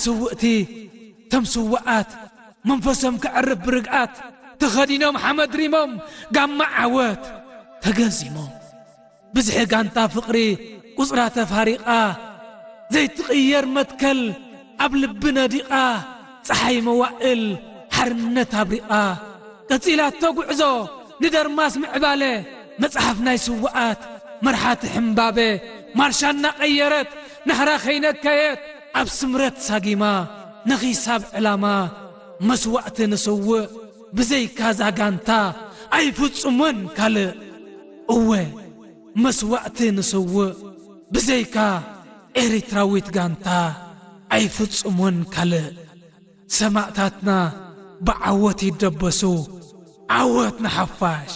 ስውእቲ ተም ስውኣት መንፈሶም ከዕርፍ ብርግኣት ተኸዲኖም ሓመድ ሪሞም ጋማ ዓወት ተገዚሞም። ብዝሒ ጋንታ ፍቕሪ ቁጽራ ተፋሪቓ ዘይትቕየር መትከል ኣብ ልቢ ነዲቓ ጸሓይ መዋእል ሓርነት ኣብሪቓ ቀጺላቶ ጉዕዞ ንደርማስ ምዕባለ መጽሓፍ ናይ ስውኣት መርሓቲ ሕምባበ ማርሻ እናቐየረት ናህራ ከይነከየት ኣብ ስምረት ሳጊማ ነኺሳብ ዕላማ መስዋእቲ ንስውእ ብዘይካ ዛጋንታ ኣይፍጹምን ካልእ እወ መስዋእቲ ንስውእ ብዘይካ ኤሪትራዊት ጋንታ ኣይፍጹምን ካልእ ሰማእታትና ብዓወት ይደበሱ ዓወት ንሓፋሽ